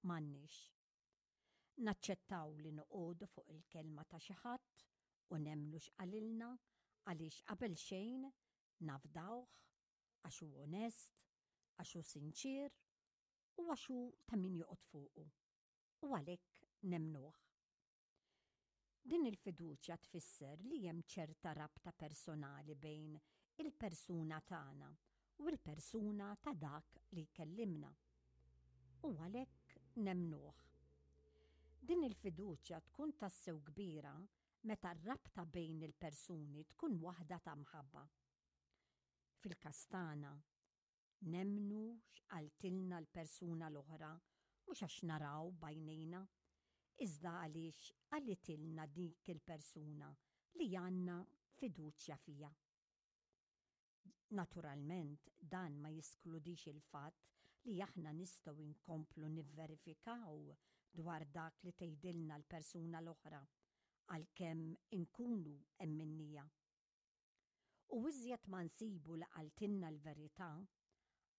m'għandniex. Naċċettaw li noqogħdu fuq il-kelma ta' xi ħadd u nemmnu x'qalilna għaliex qabelxejn nafdawh, għax hu onest, għax hu sinċier u għax hu ta' min joqgħod fuqu. U għalhekk nemmnuh. Din il-fiduċja tfisser li hemm ċerta rabta personali bejn il-persuna tagħna u l-persuna ta' dak li jkellimna. U għalhekk nemmnuh. Din il-fiduċja tkun tassew kbira meta r-rabta bejn il-persuni tkun waħda ta' mħabba. Fil-każ tagħna, Nemmnu x'qaltilna l-persuna l-oħra mhux għax naraw b'għajnejna, iżda għaliex qalitilna dik il-persuna li għandna fiduċja fiha. Naturalment dan ma jiskludix il-fatt li aħna nistgħu nkomplu nivverifikaw dwar dak li tgħidilna l-persuna l-oħra għalkemm inkunu emminnija. U iżjed ma nsibu li qaltilna l-verità,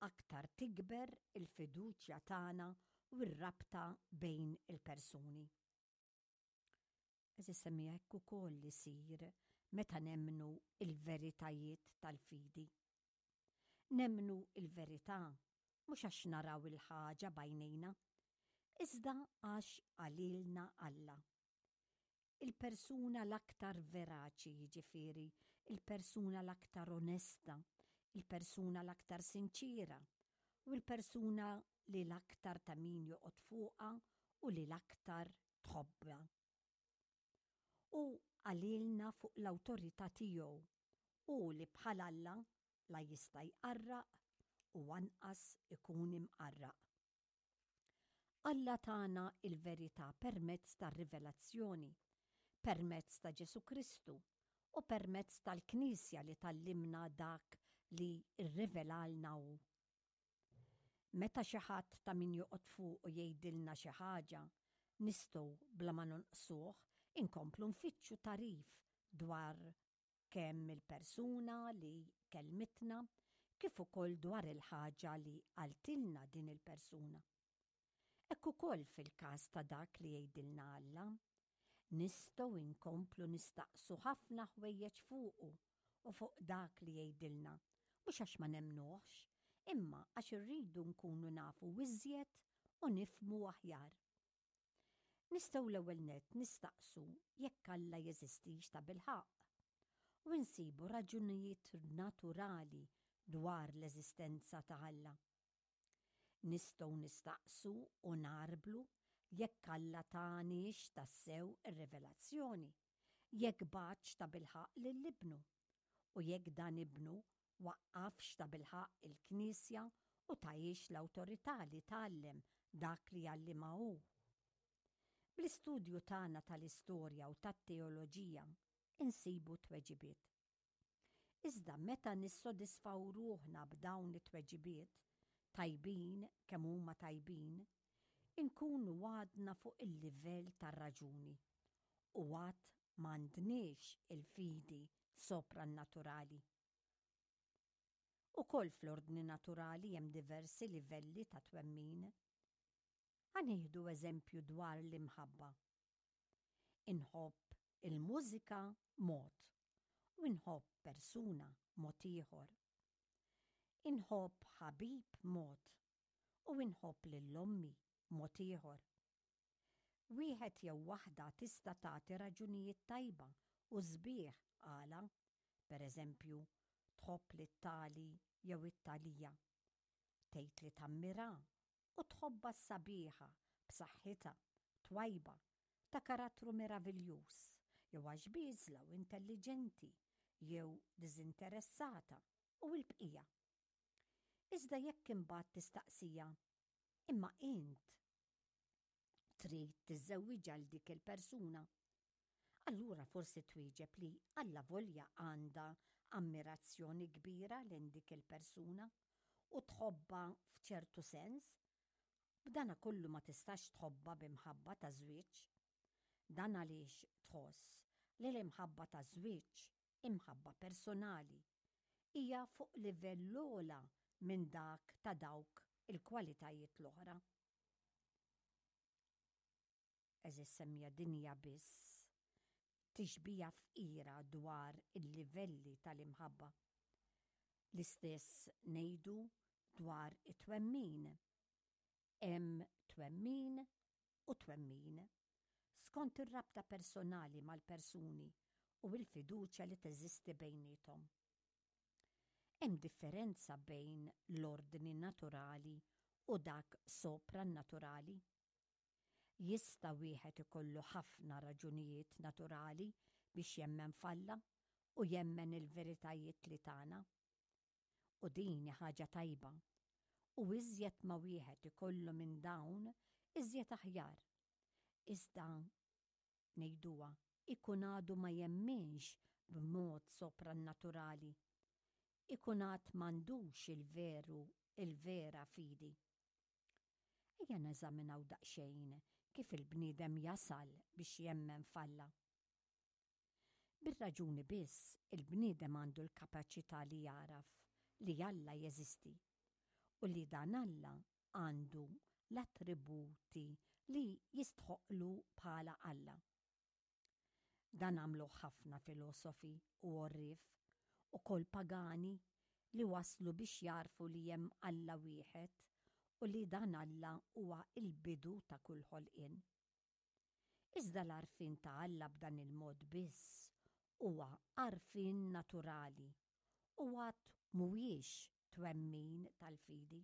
aktar tikber il-fiduċja tagħna u r-rabta bejn il-persuni. Għeżież semmiegħa hekk ukoll isir meta nemmnu l-veritajiet tal-fidi. Nemmnu l-verità mhux għax naraw il-ħaġa b'għajnejna, iżda għax qalilna Alla. Il-persuna l-aktar veraċi, jiġifieri, il-persuna l-aktar onesta, il-persuna l-aktar sinċiera u l-persuna li l-aktar ta' min joqgħod fuqha u li l-aktar tħobbha. Hu qalilna fuq l-awtorità tiegħu, hu li bħal Alla la jista' jqarraq u anqas ikun imqarraq. Alla tana l-verità permezz tar-rivelazzjoni, permezz ta' Ġesù Kristu u permezz tal-Knisja li tgħallimna dak li rrivelalna hu. Meta xi ħadd ta' min joqgħod fuqu jgħidilna xi ħaġa, nistgħu bla ma nonqsuh inkomplu nfittxu tagħrif dwar kemm il-persuna li kellmitna kif ukoll dwar il-ħaġa li qaltilna din il-persuna. Hekk ukoll fil-każ ta' dak li jgħidilna Alla. Nistgħu nkomplu nistaqsu ħafna ħwejjeġ fuqu u fuq dak li jgħidilna, mhux għax ma nemmnuhx, imma għax irridu nkunu nafu iżjed u nifhmu aħjar. Nistgħu l-ewwel nett nistaqsu jekk Alla jeżistix tabilħaqq, u nsibu raġunijiet naturali dwar l-eżistenza ta' Alla. Nistgħu nistaqsu u ngħarblu jekk Alla taniex tassew ir-rivelazzjoni, jekk bagħatx tabilħaqq lil Ibnu, u jekk dan Ibnu waqqafx tabilħaqq il-Knisja u tahiex l-awtorità li tgħallem dak li jgħallimha hu. Bl-istudju tagħna tal-istorja u tat-teoloġija insibu tweġibiet. Iżda meta nissodisfaw ruħna b'dawn it-tweġibiet, tajbin kemm huma tajbin, inkunu għadna fuq il-livell tar-raġuni u għad m'għandniex il-fidi soprannaturali. Ukoll fl-ordni naturali hemm diversi livelli ta' twemmin. Ħa nieħdu eżempju dwar l-imħabba. Inħobb il-mużika mod u inħobb persuna mod ieħor. Inħobb ħabib mod u inħobb lil ommi mod ieħor. Wieħed jew waħda tista' tagħti raġunijiet tajba u sbieħ għala, per eżempju, tħobb lit-tali jew it-talija. Tgħid li tammirha u tħobbha s-sabiħa, b'saħħitha, twajba, ta' karattru meraviljuż, jew għax bieżla u intelliġenti, jew diżinteressata, u l-bqija. Iżda jekk imbagħad tistaqsiha, Imma int trid tiżżewwiġha 'l dik il-persuna? Allura forsi twieġeb li allavolja għandha ammirazzjoni kbira lejn dik il-persuna u tħobbha f'ċertu sens, b'danakollu ma tistax tħobbha bi mħabba ta' żwieġ. Dan għaliex tħoss li l-imħabba ta' żwieġ, imħabba personali, hija fuq livell ogħla minn dak ta' dawk il-kwalitajiet l-oħra. Għeżież semmiegħa din hija biss tixbiha fqira dwar il-livelli tal-imħabba. L-istess ngħidu dwar it-twemmin. Hemm twemmin u twemmin, skont ir-rabta personali mal-persuni u l-fiduċja li teżisti bejniethom. Hemm differenza bejn l-ordni naturali u dak soprannaturali. Jista' wieħed ikollu ħafna raġunijiet naturali biex jemmen f'Alla u jemmen il-veritajiet li tana. U din hi ħaġa tajba. U iżjed ma wieħed ikollu minn dawn, iżjed aħjar. Iżda, ngħiduha, ikun għadu ma jemminx b'mod soprannaturali. Ikun għad m'għandux il-veru, il-vera fidi. Ejja neżaminaw daqsxejn kif il-bniedem jasal biex jemmen f'Alla. Bir-raġuni biss il-bniedem għandu l-kapaċità li jagħraf li Alla jeżisti u li dan Alla għandu l-attributi li jistħoqqlu bħala Alla. Dan għamluh ħafna filosofi u għorrief, ukoll pagani, li waslu biex jagħrfu li hemm Alla wieħed u li dan Alla huwa l-bidu ta' kull ħolqien. Iżda l-għarfien ta' Alla b'dan il-mod biss huwa għarfien naturali u għad mhuwiex twemmin tal-fidi.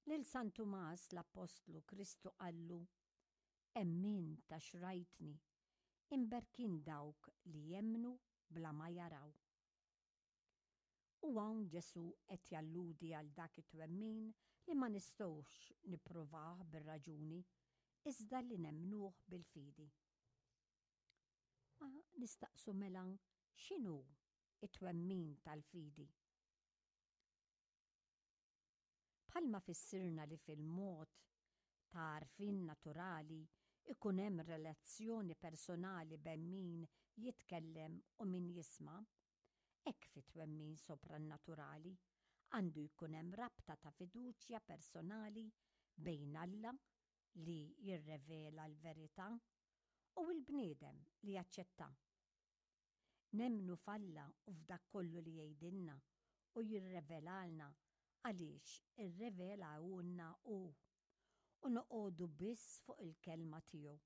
Lil San Tumas l-Appostlu Kristu qallu, Emmint għax rajtni, imberkin dawk li jemmnu bla ma jaraw. U hawn Ġesù qed jalludi għal dak it-twemmin li ma nistgħux nippruvah bir-raġuni, iżda li nemmnuh bil-fidi. Ma nistaqsu mela x'inhu t-twemmin tal-fidi? Bħalma fissirna li fil-mod ta' għarfien naturali jkun hemm relazzjoni personali bejn min jitkellem u min jisma', hekk fit-twemmin soprannaturali għandu jkun hemm rabta ta' fiduċja personali bejn Alla li jirrevela l-verità u l-bniedem li jaċċettha. Nemmnu f'Alla u f'dak kollu li jgħidilna u jirrevelalna għaliex irrevelahulna hu, u noqogħdu biss fuq il-kelma tiegħu.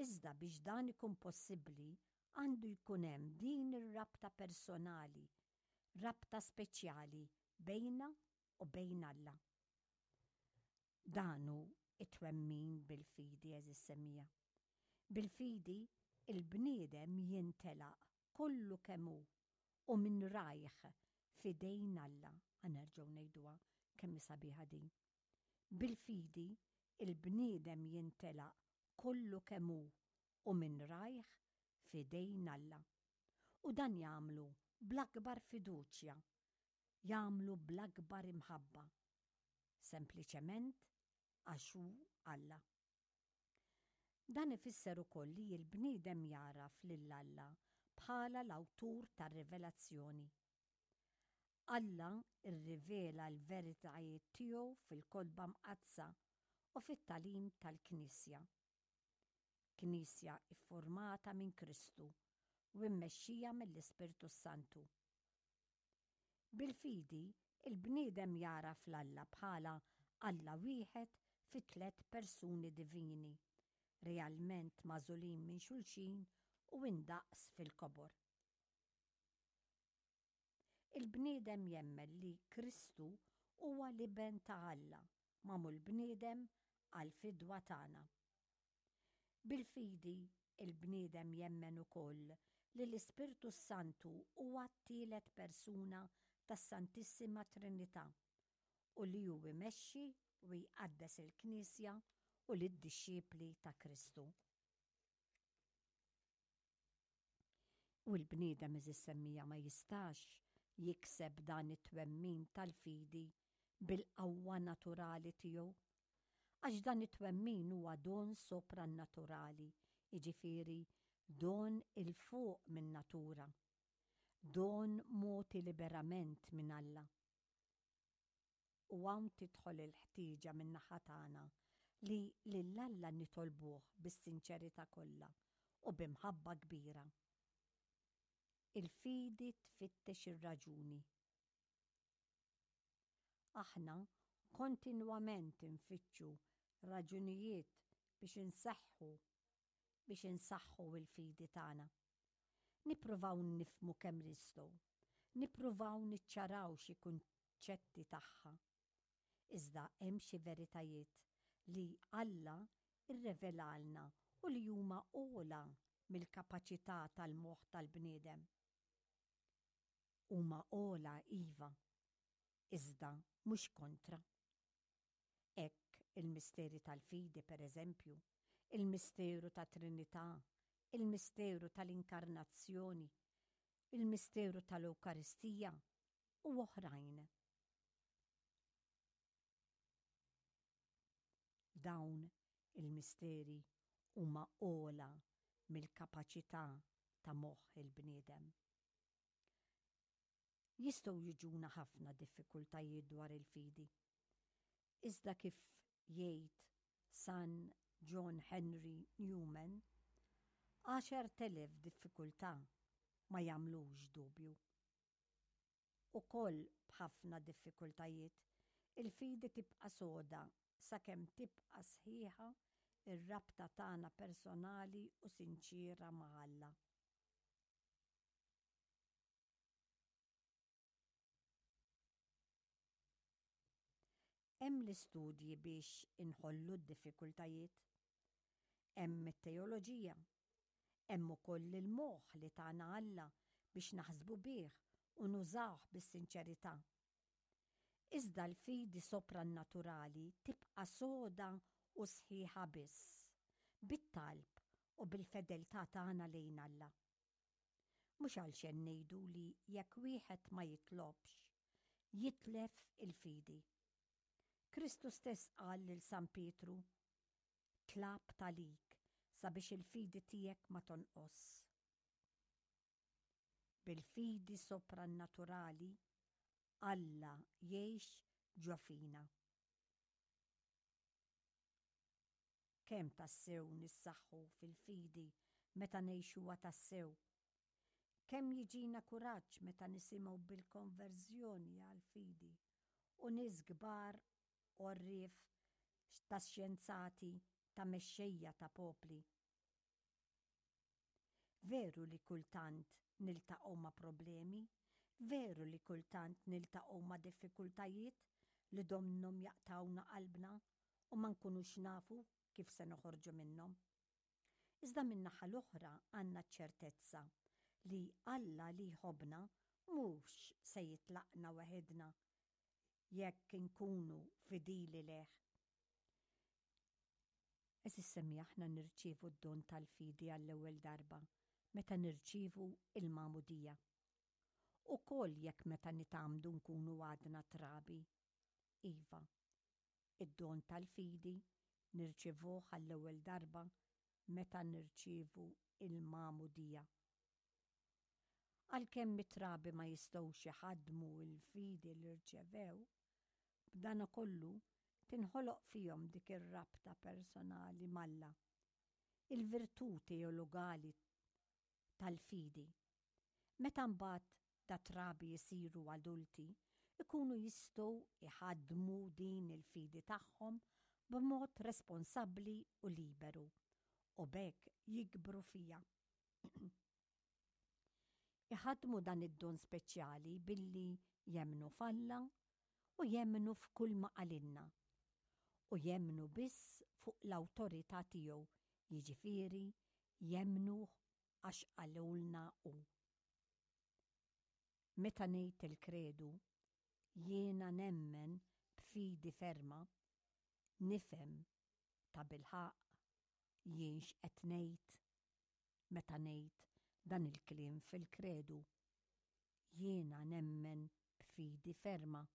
Iżda biex dan ikun possibbli għandu jkun hemm din ir-rabta personali, rabta speċjali bejna u bejn Alla. Dan hu t-twemmin bil-fidi, għeżież semmiegħa. Bil-fidi, il-bniedem jintelaq kollu kemm hu u minn rajh f'idejn Alla. Ħa nerġgħu ngħiduha kemm hi sabiħa din. Bil-fidi, il-bniedem jintelaq kollu kemm hu u minn rajh f'idejn Alla. U dan jagħmlu bl-akbar fiduċja, jagħmlu bl-akbar imħabba, sempliċement għax hu Alla. Dan ifisser ukoll li l-bniedem jagħraf lil Alla bħala l-awtur tar-rivelazzjoni. Alla rrivela l-veritajiet tiegħu fil-Kotba Mqaddsa u fit-tagħlim tal-Knisja. Knisja iffurmata minn Kristu u mmexxija mill-Ispirtu s-Santu. Bil-fidi, il-bniedem jagħraf 'l Alla bħala Alla wieħed fi tlett persuni divini, realment magħżulin minn xulxin u indaqs fil-kobor. Il-bniedem jemmen li Kristu huwa l-Iben ta' Alla magħmul bniedem għall-fidwa tagħna. Bil-fidi, il-bniedem jemmen ukoll li l-Ispirtu s-Santu huwa t-tielet persuna tas-Santissima Trinità u li hu jmexxi u jqaddes il-Knisja u lid-dixxipli ta' Kristu. U l-bniedem għeżież semmiegħa ma jistax jikseb dan it-twemmin tal-fidi bil-qawwa naturali tiegħu. Għax dan it-twemmin huwa don soprannaturali, jiġifieri don 'il fuq min-natura, don mogħti liberament minn Alla. U hawn tidħol il-ħtieġa min-naħa tagħna. Li lil Alla nitolbuh bis-sinċerità kollha u bi mħabba kbira. Il-fidi tfittex ir-raġuni. Aħna kontinwament infittxu raġunijiet biex inseħħu biex insaħħu l-fidi tagħna. Nippruvaw nifhmu kemm nistgħu. Nippruvaw niċċaraw xi kunċetti tagħha. Iżda hemm xi veritajiet li Alla rrevelalna u li huma ogħla mill-kapaċità tal-moħħ tal-bniedem. Huma ogħla iva, iżda mhux kontra. Hekk il-misteri tal-fidi, per eżempju, il-misteru tat-Trinità, il-misteru tal-Inkarnazzjoni, il-misteru tal-Ewkaristija u oħrajn. Dawn il-misteri huma ogħla mill-kapaċità ta' moħħ il-bniedem. Jistgħu jiġuna ħafna diffikultajiet dwar il-fidi. Iżda kif jgħid San John Henry Newman, 10,000 diffikultà ma jagħmlux dubju. Ukoll b'ħafna diffikultajiet, il-fidi tibqa' soda sakemm tibqa' sħiħa r-rabta tagħna personali u sinċiera ma' Alla. Hemm l-istudji biex inħollu d-diffikultajiet. Hemm it-teoloġija. Hemm ukoll il-moħħ li tana Alla biex naħsbu bih u nużawh bis-sinċerità. Iżda l-fidi soprannaturali tibqa' soda u sħiħa biss bit-talb u bil-fedeltà tagħna lejn Alla. Mhux għalxejn ngħidu li jekk wieħed ma jitlobx, jitlef il-fidi. Kristu stess qal lil San Pietru, Tlabt għalik sabiex il-fidi tiegħek ma tonqos. Bil-fidi soprannaturali, Alla jgħix ġo fina. Kemm tassew nissaħħu fil-fidi meta ngħixuha tassew! Kemm jiġina kuraġġ meta nisimgħu bil-konverżjoni għall-fidi u nies kbar għorrief ta' xjenzati, ta' mexxejja ta' popli. Veru li kultant niltaqgħu ma' problemi, veru li kultant niltaqgħu ma' diffikultajiet li donnhom jaqtgħulna qalbna u ma nkunux nafu kif se noħorġu minnhom. Iżda min-naħa l-oħra għandna ċ-ċertezza li Alla li jħobbna mhux se jitlaqna weħidna jekk inkunu fidili lejh. Għeżież semmiegħa aħna nirċievu d-don tal-fidi għall-ewwel darba meta nirċievu l-magħmudija. Ukoll jekk meta nitgħammdu nkunu għadna trabi. Iva, id-don tal-fidi nirċievuh għall-ewwel darba meta nirċievu l-magħmudija. Għalkemm it-trabi ma jistgħux iħaddmu l-fidi li rċevew, b'danakollu tinħoloq fihom dik ir-rabta personali m'Alla, il-virtù teologali tal-fidi. Meta mbagħad dat-trabi jsiru adulti, ikunu jistgħu jħaddmu din il-fidi tagħhom b'mod responsabbli u liberu, u b'hekk jikbru fiha. Iħaddmu dan id-don speċjali billi jemmnu f'Alla u jemmnu f'kull ma qalilna, u jemmnu biss fuq l-awtorità tiegħu, jiġifieri jemmnuh għax qalulna hu. Meta ngħid il-Kredu, jiena nemmen b'fidi ferma, nifhem tabilħaqq jien x'qed ngħid meta ngħid dan il-kliem fil-Kredu. Jiena nemmen b'fidi ferma.